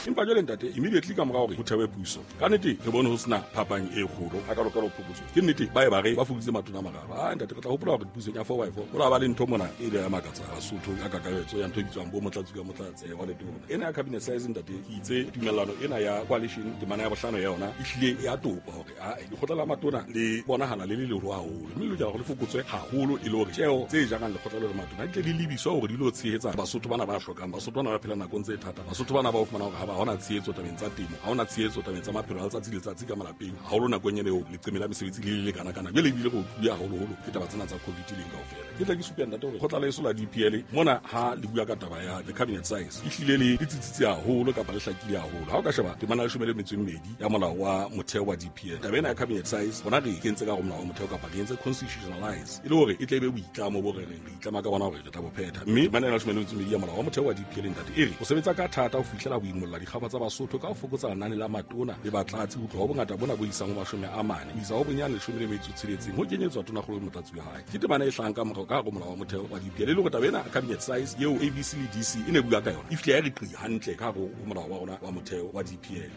Empa jwale, ntate, immediately ka mora hore ho thewe puso, ka nnete re bone ho sena phapang e kgolo a kalokalo phokotso. Ke nnete ba e ba re ba fokoditse matona a mararo. A ntate, re tla hopola hore pusong ya four by four go la ba le ntho mona e ile ya makatsa Basotho ka kakaretso ya ntho e bitswang bo motlatsi ka motlatse wa letona. Ena ya cabinet size, ntate, ke itse tumellano ena ya coalition, temana ya bohlano ya yona e hlile ya topa hore a lekgotla la matona le bonahala le le leholo haholo, mme le lokela hore le fokotswe haholo e le hore tjeo tse jarang lekgotla le le matona di tle di lebiswe hore di lo tshehetsa Basotho bana ba hlokang, Basotho bana ba phelang nakong tse thata, Basotho bana ba o fumana hore ha ba hona tshehetso tabeng tsa temo, ha hona tshehetso tabeng tsa maphelo a letsatsi le letsatsi ka malapeng, haholo nakong ena eo leqeme la mesebetsi le le lekana-kana. Jwale ebile re otluwe haholoholo ke taba tsena tsa COVID leng kaofela. Ke tla ke supe, ntate, hore kgotla leso la DPL mona ha le bua ka taba ya the cabinet size e hlile le tsitsitse haholo kapa le hlakile haholo. Ha o ka sheba temana ya 12 ya molao wa motheo wa DPL, taba ena ya cabinet size rona re e kentse ka hare molao wa motheo kapa re entse constitutionalize e le hore e tle e be boitlamo bo re reng re itlama ka bona hore re tla bo phetha. Mme temana ena ya 12 ya molao wa motheo wa DPL, ntate, e re o sebetsa ka thata ho fihlela ho imolla dikgaba tsa Basotho ka ho fokotsa lenane la matona le batlatsi ho tloha ho bongata bona bo isang ho 40 ho isa ho bonyane 16, ho kenyetswa tonakgolo le motlatsi wa hae. Ke temana e hlahang ka morao ka hare ho molao wa motheo wa DPL, e le hore taba ena cabinet size eo ABC le DC e ne bua ka yona e fihle ya re qi hantle ka hare ho molao wa rona wa motheo wa DPL.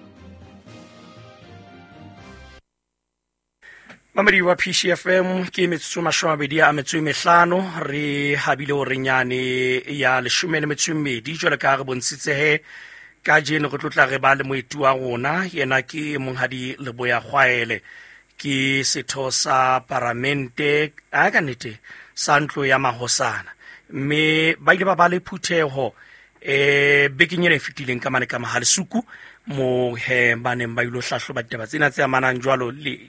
Mamedi wa PCFM, ke metsotso 25 re habile orenyane ya 12. Jwale ka re bontshitse he ka jeno re tlotla re ba le moeti wa rona, yena ke monghadi Leboya Kgwaele, ke setho sa paramente a ka nnete sa ntlo ya mahosana, mme ba ile ba ba le phutheho bekeng ena e fetileng ka mane ka Mahalesuku, mo he ba neng ba ilo hlahloba ditaba tsena tse amanang jwalo le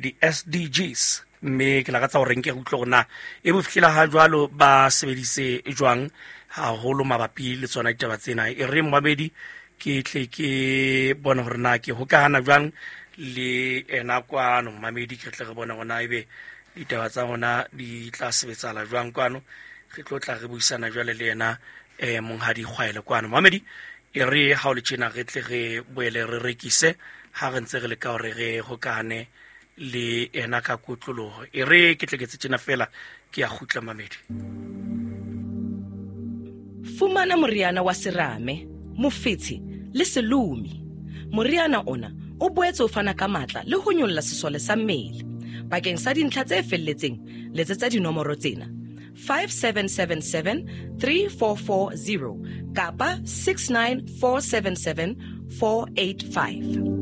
di-SDGs. Mme ke lakatsa gore nke re utlwe gore na e bo fitlhela ha jwalo ba sebedise jwang haholo mabapi le tsona ditaba tsena. E re momamedi ke tle ke bone gore na ke hokahana jwang le ena kwano. Momamedi, ke tle re bone gore na ebe ditaba tsa rona di tla sebetsala jwang kwano. Re tlo tla re buisana jwale le yena monghadi Kgwaele kwano. Momamedi, e re ha o le tjena re tle re boele re rekise ha re ntse re leka hore re hokahane le ena ka kotloloho. E re ke tle ke tse tjena fela, ke ya kgutla, mamedi. Fumana moriana wa serame, mofetshe le selomi. Moriana ona o boetse o fana ka matla le ho nyolla sesole sa mmele. Bakeng sa dintlha tse felletseng, letsetsa dinomoro tsena: 5777 3440 kapa 69477 485.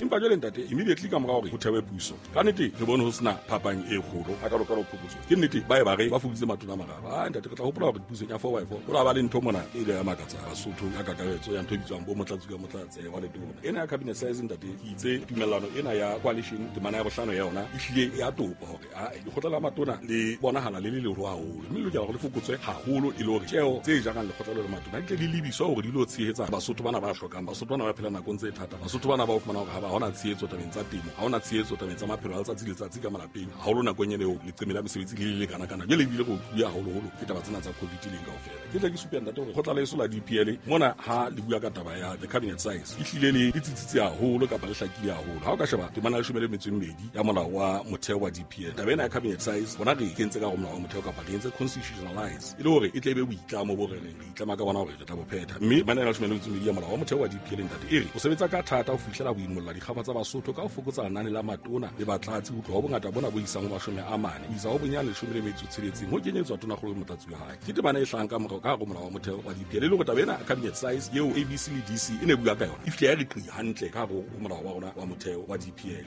Empa jwale, ntate, immediately ka mora hore ho thewe puso, ka nnete re bone ho sena phapang e kgolo a kalokalo phokotso. Ke nnete ba e ba re ba fokoditse matona a mararo. A ntate, re tla hopola hore pusong ya four by four go la ba le ntho mona e ile ya makatsa Basotho ka kakaretso ya ntho e bitswang bo motlatsi ka motlatse wa letona. Ena ya cabinet size, ntate, ke itse tumellano ena ya coalition, temana ya bohlano ya yona e hlile ya topa hore a lekgotla la matona le bonahala le le leholo haholo, mme le lokela hore le fokotswe haholo e le hore tjeo tse jarang lekgotla le le matona di tle di lebiswe hore di lo tshehetsa Basotho bana ba hlokang, Basotho bana ba phelang nakong tse thata, Basotho bana ba o fumana hore ha ba hona tshehetso tabeng tsa temo, ha hona tshehetso tabeng tsa maphelo a letsatsi le letsatsi ka malapeng, haholo nakong ena eo leqeme la mesebetsi le le lekana-kana. Jwale ebile re otluwe haholoholo ke taba tsena tsa COVID leng kaofela. Ke tla ke supe, ntate, hore kgotla leso la DPL mona ha le bua ka taba ya the cabinet size e hlile le tsitsitse haholo kapa le hlakile haholo. Ha o ka sheba temana ya 12 ya molao wa motheo wa DPL, taba ena ya cabinet size rona re e kentse ka hare molao wa motheo kapa re entse constitutionalize e le hore e tle e be boitlamo bo re reng re itlama ka bona hore re tla bo phetha. Mme temana ya 12 ya molao wa motheo wa DPL, ntate, e re o sebetsa ka thata ho fihlela ho imolla dikgaba tsa Basotho ka ho fokotsa lenane la matona le batlatsi ho tloha ho bongata bona bo isang ho 40 ho isa ho bonyane 16, ho kenyetswa tonakgolo le motlatsi wa hae. Ke temana e hlahang ka morao ka hare ho molao wa motheo wa DPL, e le hore taba ena cabinet size eo ABC le DC e ne bua ka yona e fihle ya re qi hantle ka hare ho molao wa rona wa motheo wa DPL.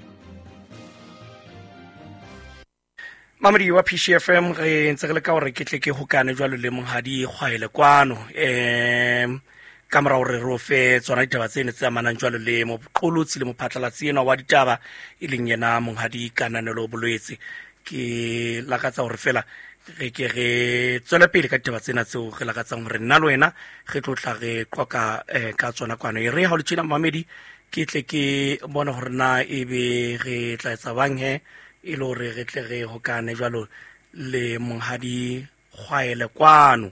Mamedi wa PCFM, re ntse re le ka gore ke tle ke hokane jwalo le monghadi Kgwaele kwano, ka mora hore re o fe tsona ditaba tse ne tse amanang jwalo le moqolotsi le mophatlalatsi enwa wa ditaba, e leng yena monghadi Kananelo Bolwetse. Ke lakatsa hore fela re ke re tswele pele ka ditaba tsena tseo re lakatsang hore nna le wena re tlo tla re qoka ka tsona kwano. E re ha o le tjena, mamedi, ke tle ke bone hore na ebe re tla etsa bang he e le hore re tle re hokane jwalo le monghadi Kgwaele kwano.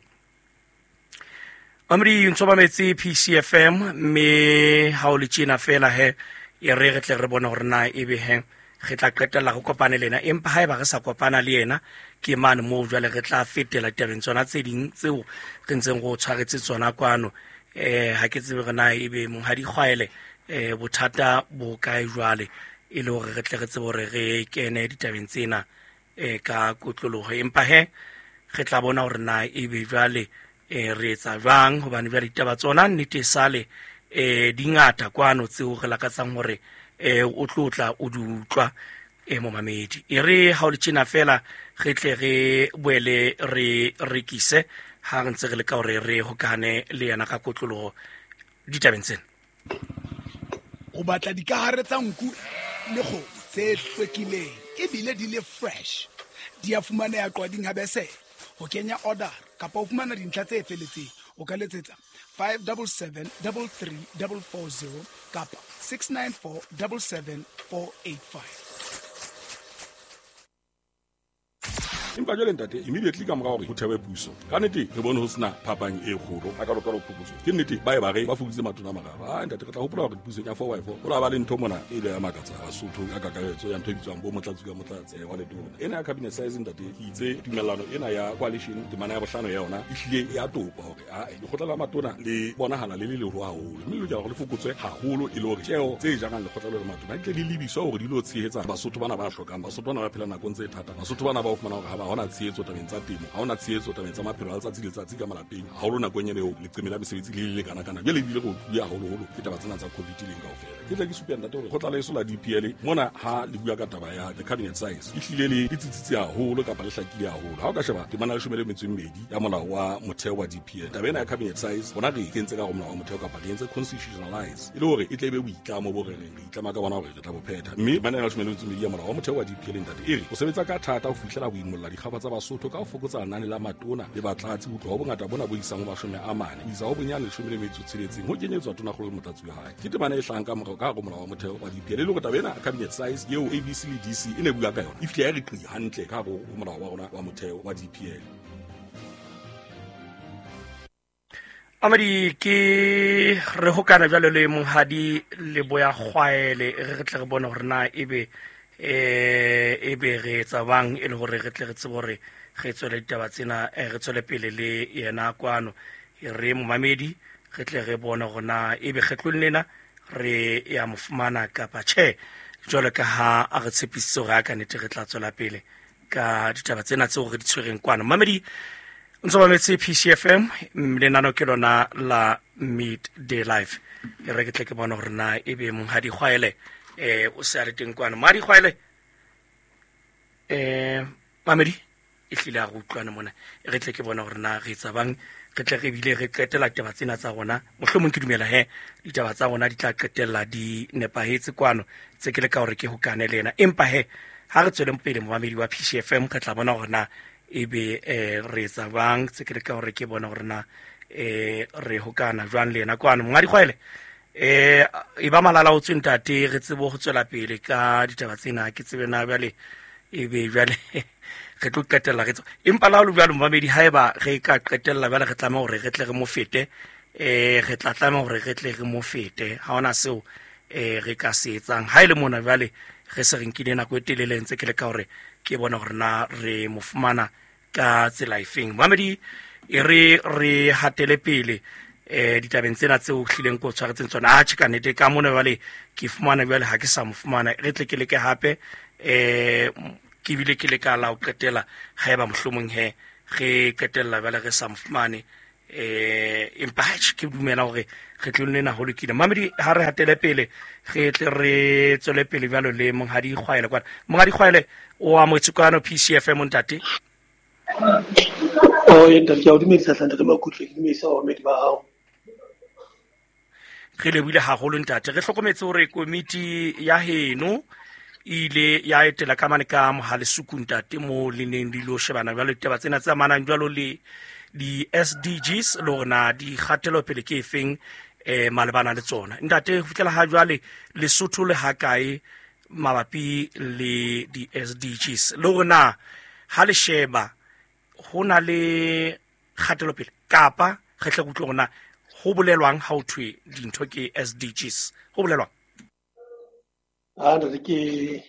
Mamedi, ntso ba metse PCFM, mme ha o le tjena fela he e re re tle re bone hore na ebe he re tla qetella re kopane le yena. Empa haeba re sa kopana le yena, ke mane moo jwale re tla fetela tabeng tsona tse ding tseo re ntseng re o tshwaretse tsona kwano. Ha ke tsebe re na ebe Monghadi Kgwaele bothata bo kae jwale, e le hore re tle re tsebe hore re kene ditabeng tsena ka kotloloho. Empa he re tla bona hore na ebe jwale re etsa jwang, hobane jwale ditaba tsona nnete sale di ngata kwano tseo re lakatsang hore o tlo tla o di utlwa momamedi. E re ha o le tjena fela re tle re boele re rekise ha re ntse re leka hore re hokane le yena ka kotloloho ditabeng tsena. O batla dikahare tsa nku le kgomo tse hlwekileng ebile di le fresh. Di a fumaneha Qwading ha Besele. Ho kenya order kapa ho fumana dintlha tse felletseng, o ka letsetsa 577 33440 kapa 694 77485. Empa jwale ntate, immediately ka mora hore ho thewe puso, ka nnete re bone ho sena phapang e kgolo a ka lokela ho phokotso. Ke nnete ba e ba re ba fokoditse matona a mararo. Ah ntate, re tla hopola hore pusong ya 4x4 ho la ba le ntho mona e ile ya makatsa Basotho ka kakaretso ya ntho e bitswang bo motlatsi ka motlatsi wa letona. Ena ya cabinet size ntate, ke itse tumellano ena ya coalition temana ya bohlano ya yona e hlile ya topa hore lekgotla la matona le bonahala le le leholo haholo, mme le lokela hore le fokotswe haholo e le hore tjeo tse jarang lekgotla le matona di tle di lebiswa hore di lo tshehetsa Basotho bana ba hlokang, Basotho bana ba phelang nakong tse thata, Basotho bana ba o fumana hore ha hona tshehetso tabeng tsa temo, ha hona tshehetso tabeng tsa maphelo a letsatsi le letsatsi ka malapeng, haholo nakong ena eo leqeme la mesebetsi le le lekana-kana. Jwale ebile re utluwe haholoholo ke taba tsena tsa COVID leng kaofela. Ke tle ke supe ntate hore lekgotla leso la DPL mona ha le bua ka taba ya the cabinet size e hlile le tsitsitse haholo kapa le hlakile haholo. Ha o ka sheba temana ya 12 ya molao wa motheo wa DPL, taba ena ya cabinet size bona re e kentse ka hare ho molao wa motheo kapa re entse constitutionalize e le hore e tle e be boitlamo bo re reng re itlama ka bona hore re tla bo phetha. Mme temana ya 12 ya molao wa motheo wa DPL ntate e re o sebetsa ka thata ho fihlela ho imolla dikgaba tsa Basotho ka ho fokotsa lenane la matona le batlatsi ho tloha ho bongata bona bo isang ho 40 ho isa ho bonyane 16 ho kenyetswa tonakgolo le motlatsi wa hae. Ke temana e hlahang ka morao ka hare ho molao wa motheo wa DPL e le hore taba ena cabinet size eo ABC le DC e ne bua ka yona e fihle ya re qi hantle ka hare ho molao wa rona wa motheo wa DPL. Amadi, ke re hokana jwalo le Monghadi Leboya Kgwaele, re tle re bone hore na ebe ebe re etsa bang e le hore re tle re tsebe hore re tswele ditaba tsena, re tswele pele le yena kwano. Re momamedi re tle re bone hore na ebe kgetlong lena re ya mo fumana kapa tjhe, jwalo ka ha a re tshepisitse hore a ka nnete re tla tswela pele ka ditaba tsena tseo re di tshwereng kwano. Mamedi, o ntso mametse PCFM, lenano ke lona la Midday Live. E re ke tle ke bone hore na ebe Monghadi Kgwaele o se a le teng kwano. Monghadi Kgwaele, mamedi e hlile a re utlwane mona, e re tle ke bone hore na re etsa bang, re tle re bile re qetela ditaba tsena tsa rona. Mohlomong ke dumela he ditaba tsa rona di tla qetella di nepahetse kwano, tse ke le ka hore ke hokane le yena. Empa he ha re tsweleng pele momamedi wa PCFM, re tla bona hore na ebe re etsa bang, tse ke le ka hore ke bone hore na re hokana jwang le yena kwano. Monghadi Kgwaele, e ba malala o tswe ntate, re tsebe ho tswela pele ka ditaba tsena. Ke tsebe na jwale ebe jwale re tlo qetella re tswa. Empa la ho le jwalo momamedi, haeba re ka qetella jwale re tlameha hore re tle re mo fete, re tla tlameha hore re tle re mo fete. Ha hona seo re ka se etsang. Ha e le mona jwale re se re nkile nako e telele ntse ke leka hore ke bone hore na re mo fumana ka tsela efeng. Momamedi, e re re hatele pele ditabeng tsena tseo hlileng ko tshwaretseng tsona. Atjhe, ka nnete ka mona jwale ke fumana jwale ha ke sa mo fumana, re tle ke leke hape, ke bile ke leka la ho qetela haeba mohlomong he re qetella jwale re sa mo fumane, empa atjhe, ke dumela hore re tlo nna ho lokile. Mamedi, ha re hatele pele re tle re tswele pele jwalo le Monghadi Kgwaele kwana. Monghadi Kgwaele, o amohetse kwano PCFM ntate. Oh, ntate, ke a o dumedisa hle, ntate Makutle, ke dumedisa bamamedi ba hao. Re lebohile haholo ntate. Re hlokometse hore komiti ya heno e ile ya etela ka mane ka Mohalesuku ntate, mo le neng le ilo shebana jwalo ditaba tsena tse amanang jwalo le di-SDGs le hore na di kgatelopele ke efeng malebana le tsona. Ntate, ho fihlela ha jwale Lesotho le ha kae mabapi le di-SDGs, le hore na ha le sheba ho na le kgatelopele kapa re tle re utlwe hore na ho bolelwang ha ho thwe dintho ke SDGs, ho bolelwang? Ah, ntate, ke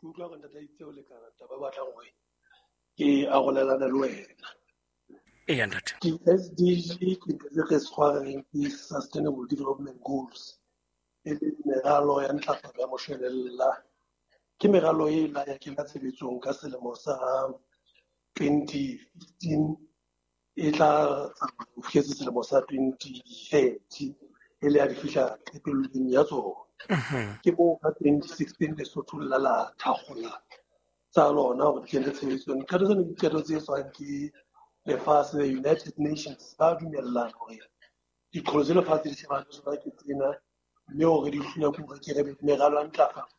Ke utlwa hore ntate itse o lekana taba e batlang hore ke arolelana le wena. Eya ntate. Di-SDG ke ntho tse re tshwareng ke Sustainable Development Goals, e leng meralo ya ntlafatso ya moshwelella. Ke meralo e la ya kena tshebetsong ka selemo sa 2015, e tla tsamaya ho fihletse selemo sa 2030, e le ya di fihla qetellong ya tsona. Ke moo ka 2016 Lesotho la la thakgola tsa lona hore di kene tshebetsong. Diqeto tsena ke diqeto tse etswang ke lefatshe, the United Nations, ba dumellana hore diqholotso tse lefatshe di shebane le tsona ke tsena, mme hore di hlula ke hore ke re meralo ya ntlafatso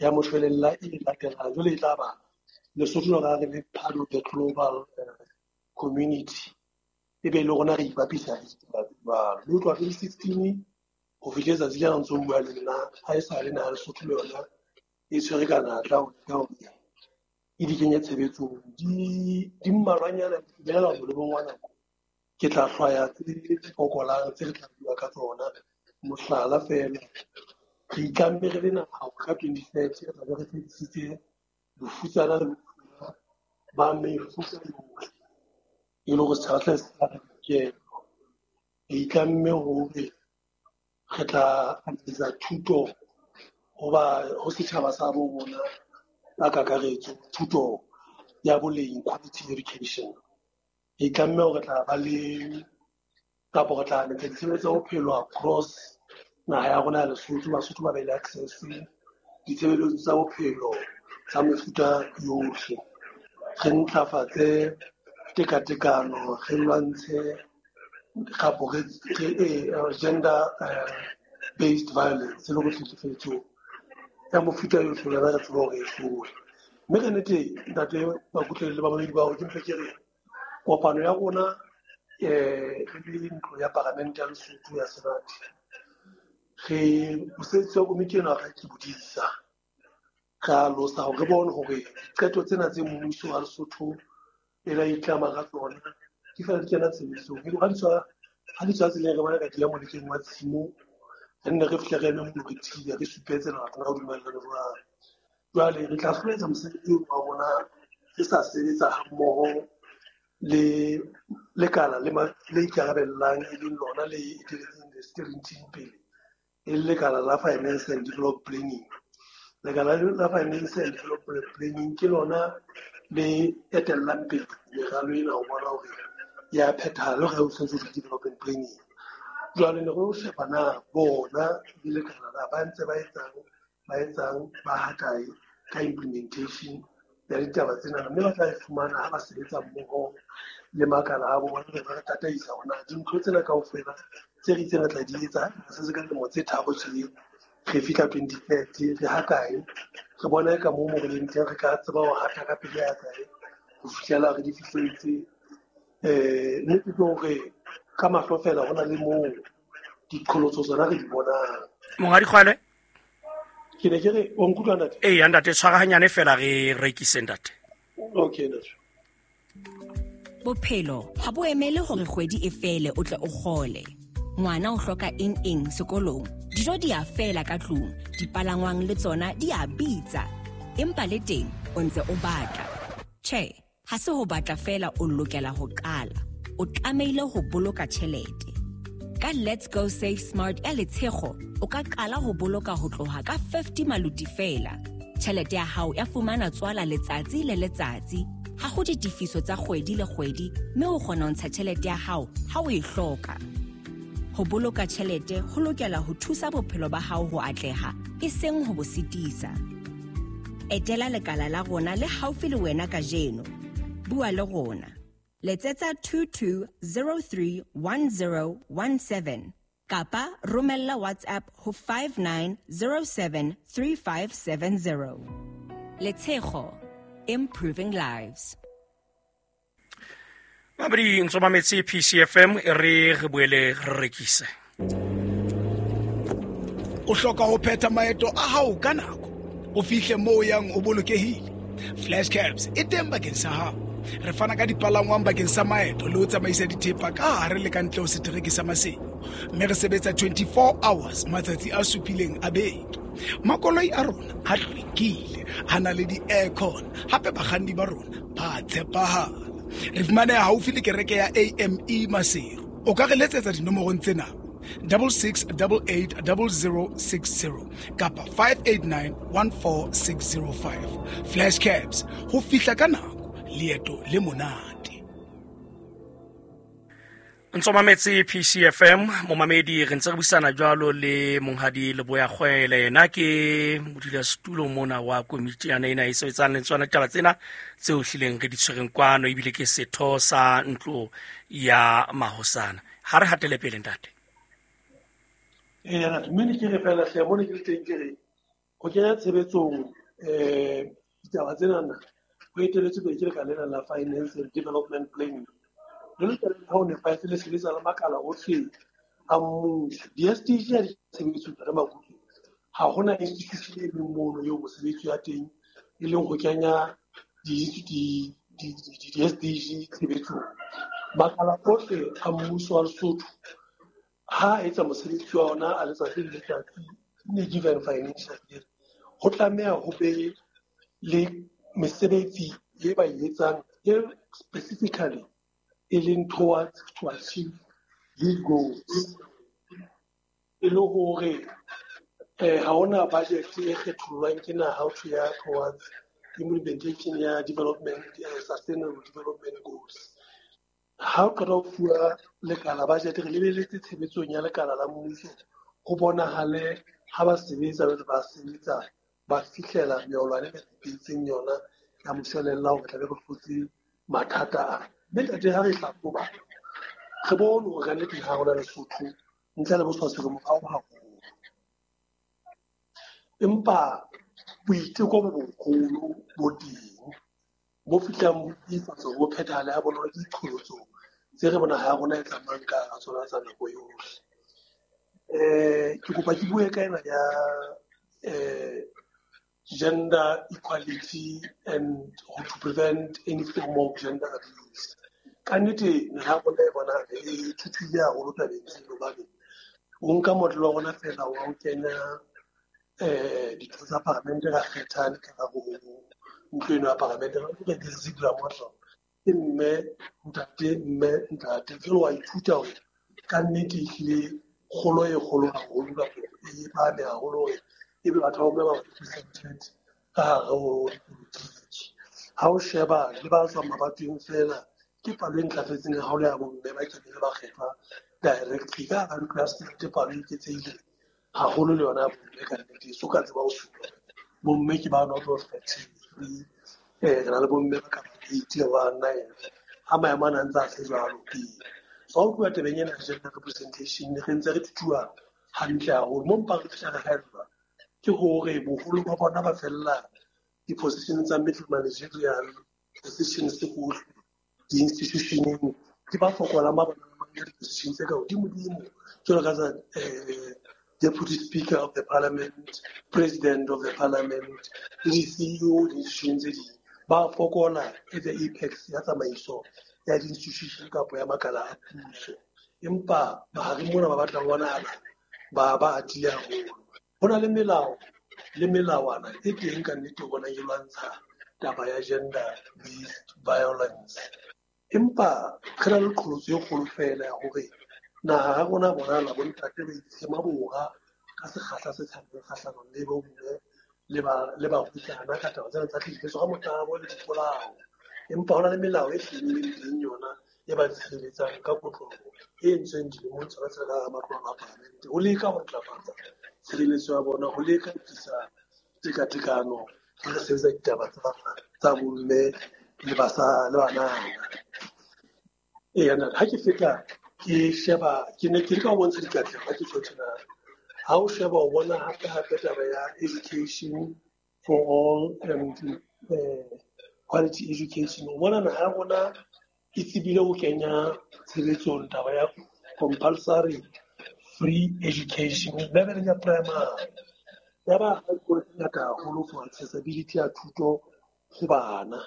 ya moshwelella e latelang jwale e tla ba Lesotho lona re le part of the global community, e be le rona re ipapisa le ditaba tse jwalo. Mme ho tloha 2016 ho fihle letsatsi lena ntso bua le nna, ha e sa le naha Lesotho le yona e tshwere ka natla ho leka hore e di kenye tshebetsong. Di mmalwanyana, di bolela molemong wa nako. Ke tla hlwaya tse fokolang tse re tla bua ka tsona. Mohlala feela, re itlamme re le naha hore ka 2030 re tla be re fedisitse bofutsana le bofuma ba mefuta yohle, e le hore setjhaba se se re lokela. Re itlamme hore re tla atisa thuto ho setjhaba sa bo rona ka kakaretso, thuto ya boleng, quality education. Re itlamme hore re tla ba le kapa re tla etsa ditshebeletso tsa bophelo across naha ya rona ya Lesotho, Basotho ba be le access ditshebeletso tsa bophelo tsa mefuta yohle. Re ntlafatse tekatekano, re lwantshe kapo re gender based violence le go tlhekefetso ya mofuta yohle, lona re tseba hore e hlole. Mme ka nnete ntate Makutlelo le bamamedi ba hao, ke mpe ke re kopano ya rona re le ntlo ya paramente ya Lesotho ya Senate, re mosebetsi wa komiti ena re ke bodisa, re alosa hore re bone hore diqeto tsena tse mmuso wa Lesotho e la itlama ka tsona di fela di kena tshebetsong. Ha di tswa tseleng, re bona ka di ya molekeng wa tshimo, re nne re fihle re eme mono, re thibe, re supe tsela rona re dumellane jwang. Jwale re tla hloletsa mosebetsi wa rona re sa sebetsa hammoho le lekala le ikarabellang, e leng lona le eteletseng the steering team pele, e le lekala la Finance and Development Planning. Lekala la Finance and Development Planning ke lona le etellang pele meralo ena ho bona hore ya phethahala, le hore ho tshwanetse ho development planning. Jwale ne re sheba na bona le lekala la ba ntse ba etsang ba hakae ka implementation ya ditaba tsena, mme ba tla e fumana ha ba sebetsa mmoho le makala a bona, re ba tataisa hore na dintho tsena kaofela tse re itseng re tla di etsa se se ka dilemo tse tharo tje, re fihla 2030 re hakae, re bona ka moo mo re leng teng, re ka tseba ho hata ka pele ya kae ho fihlela re di fihletse. Nnete ke hore ka mahlo fela ho na le moo diqholotso tsona re di bonang. Monghadi Kgwale? Ke ne ke re, o nkutlwa ntate? Eya ntate, tshwarahanyane fela re rekise ntate. Okay ntate. Bophelo ha bo emele hore kgwedi e fele o tle o kgole. Ngwana o hloka eng eng sekolong, dijo di a fela ka tlung, dipalangwang le tsona di a bitsa. Empa le teng o ntse o batla. Tjhe, ha se ho batla fela o lokela ho qala. O tlamehile ho boloka tjhelete. Ka Let's Go Save Smart ya Letshego, o ka qala ho boloka ho tloha ka 50 maluti fela. Tjhelete ya hao ya fumana tswala letsatsi le letsatsi. Ha ho ditefiso tsa kgwedi le kgwedi, mme o kgona ho ntsha tjhelete ya hao ha o e hloka. Ho boloka tjhelete ho lokela ho thusa bophelo ba hao ho atleha, e seng ho bo sitisa. Etela lekala la rona le haufi le wena kajeno. Bua le rona. Letsetsa 22031017 kapa romella WhatsApp ho 59073570. Letshego, improving lives. Mabedi ntso mametse PCFM, e re re boele re rekise. O hloka ho phetha maeto a hao ka nako, o fihle moo o yang o bolokehile. Flash Cabs e teng bakeng sa hao. Re fana ka dipalangwang bakeng sa maeto le ho tsamaisa dithepa ka hare le ka ntle ho setereke sa Maseru. Mme re sebetsa 24 hours matsatsi a supileng a beke. Makoloi a rona a hlwekile, a na le di-aircon, hape bakganni ba rona ba tshepahala. Re fumaneha haufi le kereke ya AME Maseru. O ka re letsetsa dinomorong tsena: 66880060 kapa 58914605. Flash Cabs, ho fihla ka nako, leeto le monate. Ntso mametse PCFM, momamedi, re ntse re buisana jwalo le monghadi Leboya Kgwele. Yena ke modulasetulo mona wa komiti yana ena e sebetsang le tsona ditaba tsena tseo hlileng re di tshwereng kwano, ebile ke setho sa ntlo ya mahosana. Ha re hatele pele, ntate. Ee, mme ne ke re fela hle, mo ne ke le teng ke re ho kenya tshebetsong ditaba tsenana ho eteletswe pele ke lekala lena la Finance and Development Planning. Le lokela ha o nepahetse le sebetsa le makala ohle a mmuso. Di-SDG ha di tshebetso re Makutu, ha hona institution e leng mono eo mosebetsi ya teng e leng ho kenya di-SDG tshebetsong. Makala ohle a mmuso wa Lesotho ha a etsa mosebetsi wa ona a letsatsi le letsatsi in a given financial year, ho tlameha ho be le mesebetsi e ba e etsang e specifically e leng towards to achieve these goals. E le hore ha hona budget e kgethollwang ke naha ho thwe ya towards implementation ya development, sustainable development goals. Ha o qeta ho fuwa lekala budget, re lebeletse tshebetsong ya lekala la mmuso ho bonahale ha ba sebetsa, jwale ba sebetsa ba fihlela meolwane e re ipehetseng yona ya moshwelella hore tlabe re hlotse mathata a. Mme ntate, ha re hlahloba re bone hore kannete ha rona Lesotho ntle le boswaswi re morao haholo, empa boiteko bo boholo bo teng bo fihlang bo tiifatsa hore bo phethahale ha bonolo ke diqholotso tse re bona ha rona e tsamayang ka hara tsona tsa nako yohle. Ke kopa ke bue ka ena ya gender equality and how to prevent any form of gender abuse. Ka nnete naha ya rona e bonahala e thuthuhile haholo tabeng tseno, hobane o nka motlolo wa rona feela wa ho kenya ditho tsa paramente, ra kgetha le ka hare ho ntlo eno ya paramente, re re Ziegler model, ke mme, ntate, mme, ntate. Jwale wa ithuta hore ka nnete ehlile kgolo e kgolo haholo kapa e phahame haholo hore ebe batho ba bomme ba represented ka hare ho dipolotiki. Ha o sheba le ba tswang mabatoweng feela, ke palo e ntlafetseng haholo ya bomme ba keneng ba kgethwa directly ka hara ntlo ya senate. Palo e eketsehile haholo le yona ya bomme ka nnete, so ka tseba ho supa bomme ke ba not of 33, re na le bomme ba ka bang 8 ba 9 ha maemo ana a ntse a se jwalo pele. So ha ho tluwa tabeng ena ya gender representation, re ntse re thuthuha hantle haholo. Mo mpa re fihla re haellwa ke hore boholo ba bona ba fella di-position tsa middle managerial positions hohle di-institutioneng, ke ba fokolang ba bonang ba nka di-position tse ka hodimo-dimo jwalo ka tsa deputy speaker of the parliament, president of the parliament le di-CEO di-institution tse ding. Ba fokola at the apex ya tsamaiso ya di-institution kapa ya makala a puso, empa mahareng mona ba batla ho bonahala ba atile haholo. Ho na le melao le melawana e teng ka nnete o bonang e lwantsha taba ya gender based violence, empa re na le qholotso e kgolo feela ya hore naha ya rona bonahala bontate ba itshema bora ka sekgahla se tshabehang kgahlanong le bomme le barwetsana ka taba tsena tsa tlhekefetso ka motabo le dipolao. Empa ho na le melao e hlileng teng yona e ba tshireletsang ka kotloloho e entsweng dilemong tsona tse ka hara matlo a paramente ho leka ho ntlafatsa tshireletso ya bona, ho leka ho tlisa tekatekano ha re sebetsa ditaba tsa bomme le le banana. Eya, ntate, ha ke feta ke sheba, ke ne ke leka ho bontsha dikatleho ha ke tjho tjena. Ha o sheba o bona hape hape taba ya education for all and quality education. O bona naha ya rona e tsebile ho kenya tshebetsong taba ya compulsory free education leveleng ya primary. Ya ba ha dikolo tse ngata haholo for accessibility ya thuto ho bana.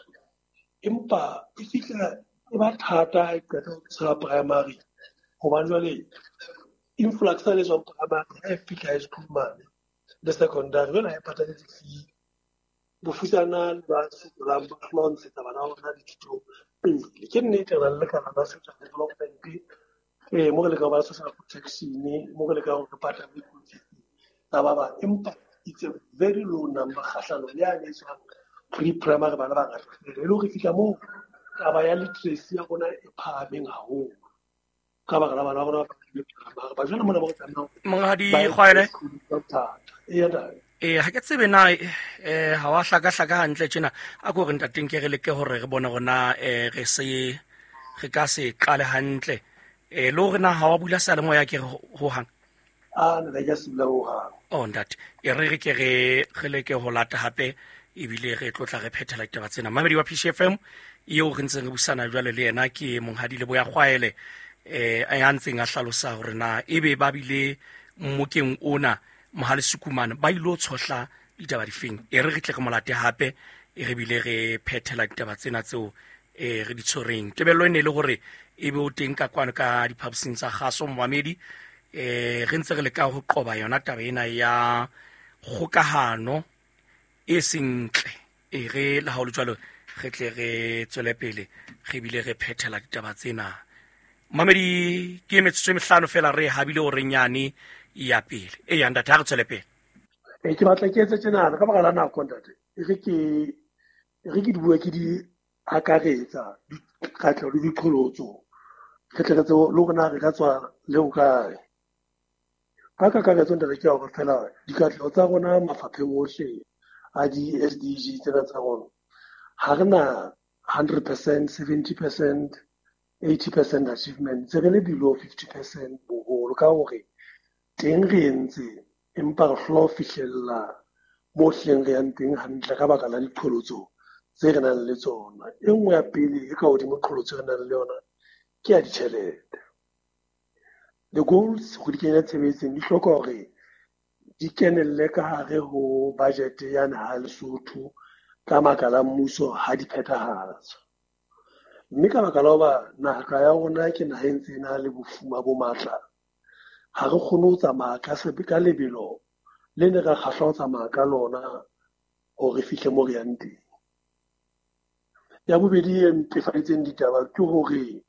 Empa e fihla e ba thata ha e qeta ho tshola primary, hobane jwale Influx le tswang primary ha e fihla high school mane le secondary, jwale ha e patale di-fee. Bofutsana le ba sokolang ba hlola ho ntshetsa bana ba bona dithuto pele. Ke nnete re na le lekala la social development, mo re lekang ho ba social protection, mo re lekang hore re patale fees tsa ba bang, empa it's a very low number kgahlanong le yane e tswang pre-primary bana ba ngata e le hore fihla moo taba ya literacy ya rona e phahameng haholo ka baka la bana ba rona ba primary ba jwale mona ba re tlameha Monghadi Kgwaele. Eya ntate. Ee, ha ke tsebe na ha wa hlakahlaka hantle tjena. A ko re ntateng ke re leke hore re bone hore na re se re ka se qale hantle. Le hore na ha wa bula seyalemoya ke re ho hang. A nna ke a se bula ho hang. Oh ntate, e re re ke re re leke ho lata hape ebile re tlotla re phethela ditaba tsena. Mamedi wa PCFM eo re ntseng re busana jwale le yena ke Monghadi Leboya Kgwaele, ya ntseng a hlalosa hore na ebe ba bile mmokeng ona Mohale Sukumane ba ilo tshohla ditaba difeng. E re re tle re molate hape e re bile re phethela ditaba tsena tseo re di tshwereng. Tebello e ne e le hore e be o teng ka kwano ka diphaposing tsa kgaso momamedi, re ntse re leka ho qoba yona taba ena ya kgokahano e seng ntle. E re le ha ho le jwalo re tle re tswele pele re bile re phethela ditaba tsena. Mamedi, ke metsotso e mehlano fela re habile hore nyane ya pele. E ya ntate, ha re tswele pele. Ke batla ke etse tjenana ka baka la nako ntate. E re ke di bue ke di akaretsa dikatleho le diqholotso. Re tle re tsebe le hore na re ka tswa le ho kae. Ka kakaretso ntate ke ya hore fela dikatleho tsa rona mafapheng ohle a di-SDG tsena tsa rona, ha re na 100%, 70%, 80% achievement, se re le below 50% boholo, ka hore teng re entse empa re hlola ho fihlella mo hleng re yang teng hantle ka baka la diqholotso tse re nang le tsona. E nngwe ya pele e ka hodimo qholotso e re nang le yona ke ya ditjhelete. The goals ho di kenya tshebetsong di hloka hore di kenelle ka hare ho budget ya naha ya Lesotho ka makala a mmuso ha di phethahatswa. Mme ka baka la hoba naha ya rona ke naha e ntse e na le bofuma bo matla, ha re kgone ho tsamaya ka lebelo le ne ra kgahlwa ho tsamaya ka lona hore re fihle mo re yang teng. Ya bobedi e mpefaditseng ditaba ke hore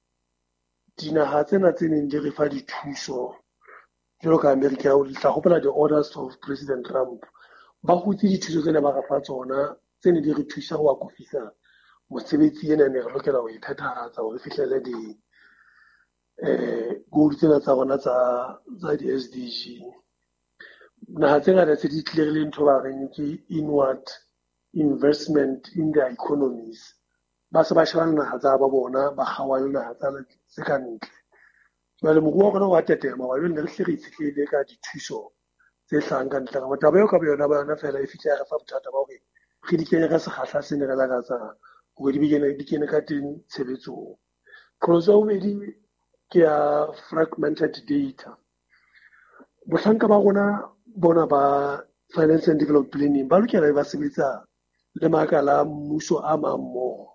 dinaha tsena tse neng di re fa dithuso jwalo ka America, o tla hopola the orders of President Trump, ba hutse dithuso tsena ba re fa tsona tse ne di re thusa ho akofisa mosebetsi ena ne re lokela ho e phethahatsa hore re fihlele di goal tsena tsa rona tsa di-SDG. Naha tse ngata tse di tlile re le ntho ba reng ke inward investment in their economies. Ba se ba sheba naha tsa ba bona, ba kgaoha le naha tsa tse ka ntle. Jwale moruo wa rona wa tetema, wa jwale ne re hle re itshetlehile ka dithuso tse hlahang ka ntle. Ka taba eo ka boyona ba yona fela e fihle ya re fa bothata ba hore re di kenye ka sekgahla se ne re lakatsa hore di kene ka teng tshebetsong. Qholotso ya bobedi ke ya fragmented data. Bohlanka ba rona bona ba Finance and Development Planning ba lokela ba sebetsa le makala a mmuso a mang mmoho.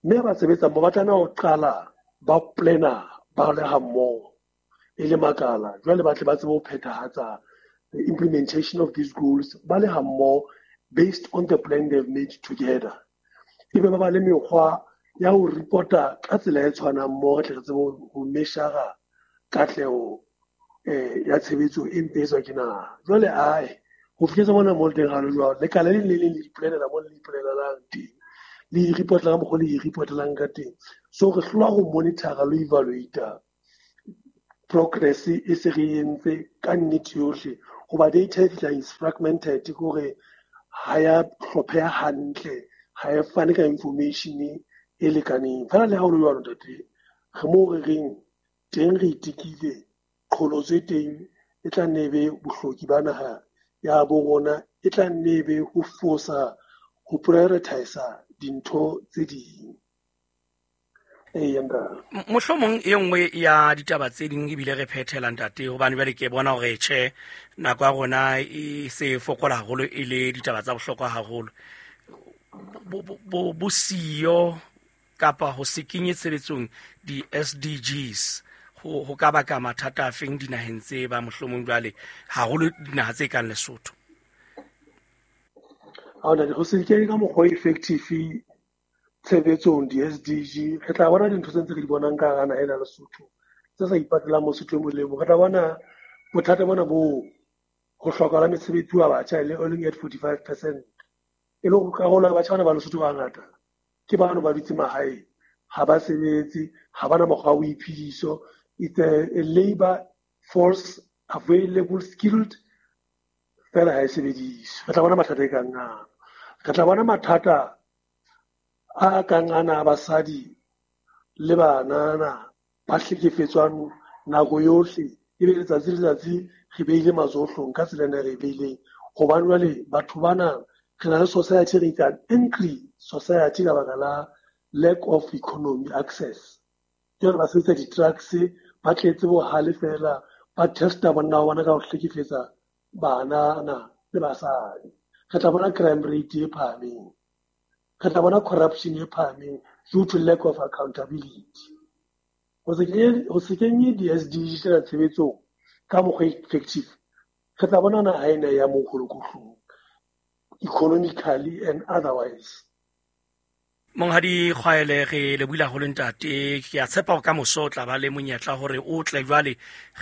Mme ba sebetsa mmoho, ba tlameha ho qala ba planner ba le ha mmoho e le makala. Jwale ba tle ba tsebe ho phethahatsa the implementation of these goals ba le ha mmoho based on the plan they've made together. Ebe ba ba le mekgwa ya ho reporta ka tsela e tshwanang mmoho, re tle re tsebe ho measure katleho ya tshebetso e mpe e tswa ke naha. Jwale ae, ho fihletse mona mo le teng ha le jwalo, lekala le leng le leng le ipolelela mo le ipolelang teng, le i-reportela ka mokgwa le i-reportelang ka teng. So re hlola ho monitor-a le ho evaluate progress e se re entse ka nnete yohle, hoba data e fihlang is fragmented, ke hore ha ya hlopheha hantle, ha e fane ka information e lekaneng. Fela le ha ho le jwalo ntate, re moo re reng teng re itekile, qholotso e teng e tla nne e be bohloki ba naha ya bo rona, e tla nne e be ho fosa ho prioritize dintho tse ding. Eya, ntate. Mohlomong e nngwe ya ditaba tse ding ebile re phethela ntate, hobane jwale ke bona hore tjhe nako ya rona e se fokola haholo e le ditaba tsa bohlokwa haholo. Bosiyo kapa ho se kenye tshebetsong di-SDGs Ho ka baka mathata a feng dinaheng tse ba mohlomong jwale, haholo dinaha tse kang Lesotho? Ha ona ho se kenye ka mokgwa o effective tshebetsong di-SDG, re tla bona dintho tse ntse re di bonang ka hara naha ena ya Lesotho tse sa ipatelang Mosotho e mong le mong. Re tla bona bothata bona bo ho hlokahala mesebetsi wa batjha e leng at 45%, e le hore karolo ya batjha bana ba Lesotho ba bangata ke bano ba dutse mahaeng, ha ba sebetse, ha bana mokgwa wa boiphediso. It's a labor force available, skilled, fela ha e sebediswe. Re tla bona mathata e kang ana. Re tla bona mathata a kang ana a basadi le banana ba hlekefetswang nako yohle, ebe letsatsi le letsatsi re beile matsoho hloohong ka tsela ena re e beileng. Hobane jwale batho bana re na le society re itsang angry society ka baka la lack of economy access. Jwale ba sebedisa di-drugs, ba tletse bohale fela, ba testa bonna ba bona ka ho hlekefetsa banana le basadi. Re tla bona crime rate e phahameng, re tla bona corruption e phahameng due to lack of accountability. Ho se kenye di-SDG tsena tshebetsong ka mokgwa effective, re tla bona naha ena ya mokgolokohlong economically and otherwise. Monghadi Kgwaele, re lebohile haholo ntate. Ke a tshepa hore ka moso o tla ba le monyetla hore o tle jwale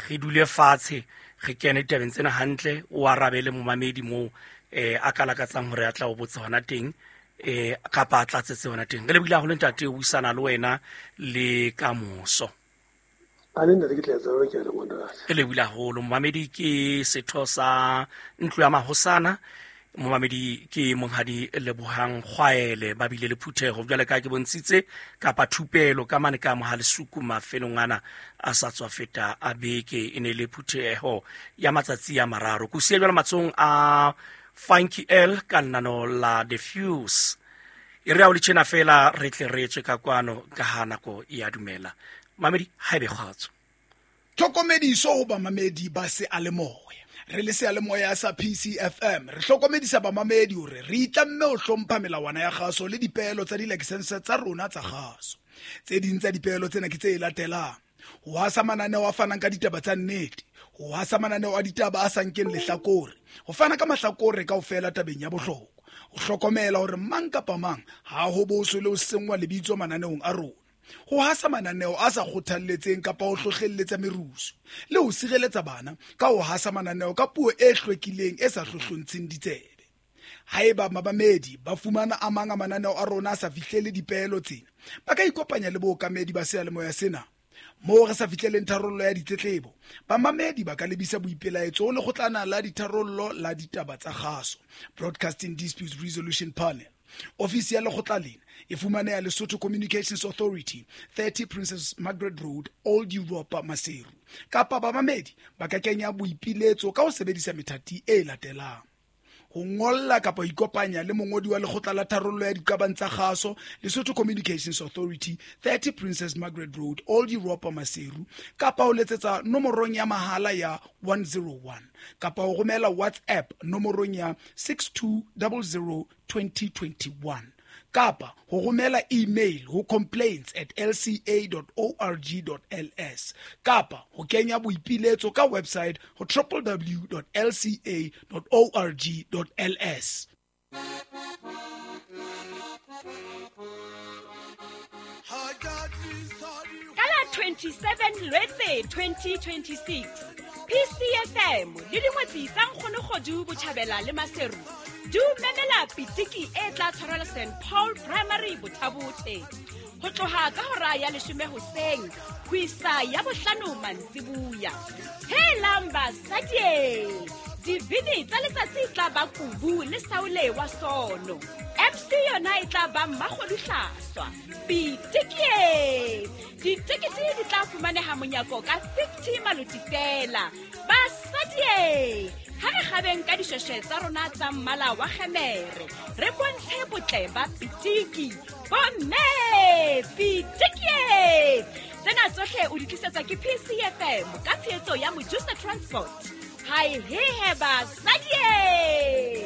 re dule fatshe, re kene ditabeng tsena hantle, o arabe le momamedi moo a ka lakatsang hore a tla o botsa hona teng, kapa a tlatsetse hona teng. Re lebohile haholo ntate, o buisana le wena le ka moso. A le ntate, ke tla etsa jwalo, ke a leboha ntate. Re lebohile haholo. Momamedi ke setho sa ntlo ya mahosana, momamedi ke monghadi Lebohang Kgwaele. Ba bile le phutheho jwale ka ke bontshitse kapa thupelo ka mane ka Mohalesuku mafelong ana a sa tswa feta a beke. E ne le phutheho ya matsatsi a mararo. Ko siya jwale matsohong a Funky L ka lenano la The Fuse. E re ha o le tjena fela re tle re tswe ka kwano ka ha nako e a dumela. Mamedi, ha ebe kgotso. Tlhokomediso ho bamamedi ba seyalemoya. Re le seyalemoya sa PCFM re hlokomedisa bamamedi hore re itlamme ho hlompha melawana ya kgaso le dipeelo tsa dilakesense tsa rona tsa kgaso. Tse ding tsa dipeelo tsena ke tse latelang: ho hasa mananeo a fanang ka ditaba tsa nnete, ho hasa mananeo a ditaba a sa nkeng lehlakore, ho fana ka mahlakore kaofela tabeng ya bohlokwa, ho hlokomela hore mang kapa mang ha ho boswe le ho senngwa lebitso mananeong a rona, ho hasa mananeo a sa kgothalletseng kapa ho hlohlelletsa merusu, le ho sireletsa bana ka ho hasa mananeo ka puo e hlwekileng e sa hlohlontsheng ditsebe. Haeba babamedi ba fumana a mang a mananeo a rona a sa fihlele dipeelo tsena, ba ka ikopanya le bookamedi ba seyalemoya sena. Moo re sa fihleleng tharollo ya ditletlebo, bamamedi ba ka lebisa boipelaetso ho lekgotlana la ditharollo la ditaba tsa kgaso, Broadcasting Disputes Resolution Panel. Ofisi ya lekgotla lena e fumaneha Lesotho Communications Authority, 30 Princess Margaret Road, Old Europa, Maseru. Kapa bamamedi ba ka kenya boipiletso ka ho sebedisa methati e latelang: ho ngolla kapa ho ikopanya le mongodi wa lekgotla la tharollo ya diqabang tsa kgaso, Lesotho Communications Authority, 30 Princess Margaret Road, Old Europa, Maseru, kapa ho letsetsa nomorong ya mahala ya 101, kapa ho romela WhatsApp nomorong ya 6200 2021, kapa ho romela email ho complaints@lca.org.ls, kapa ho kenya boipiletso ka website ho www.lca.org.ls. Ka la 27 Lwetse 2026, PCFM le dingwetsi tsa Nkgonokgodu Botjhabela le Maseru di o memela pitiki e tla tshwarelwa St Paul Primary Bothabothe ho tloha ka hora ya 10 hoseng ho isa ya 5 mantsibuya. Helang basadi, dibini tsa letsatsi tla ba Kubu le Saule wa Sono. MC yona e tla ba Mmakgodu Hlaswa. Pitiki, ditekete di tla fumaneha monyako ka 50 maloti fela. Basadi, ha re kgabeng ka dishweshwe tsa rona tsa mmala wa kgemere, re bontshe botle ba pitiki. Bomme, pitiki! Tsena tsohle o di tlisetswa ke PCFM ka tshehetso ya Mojusa Transport. Hai hehe basadi!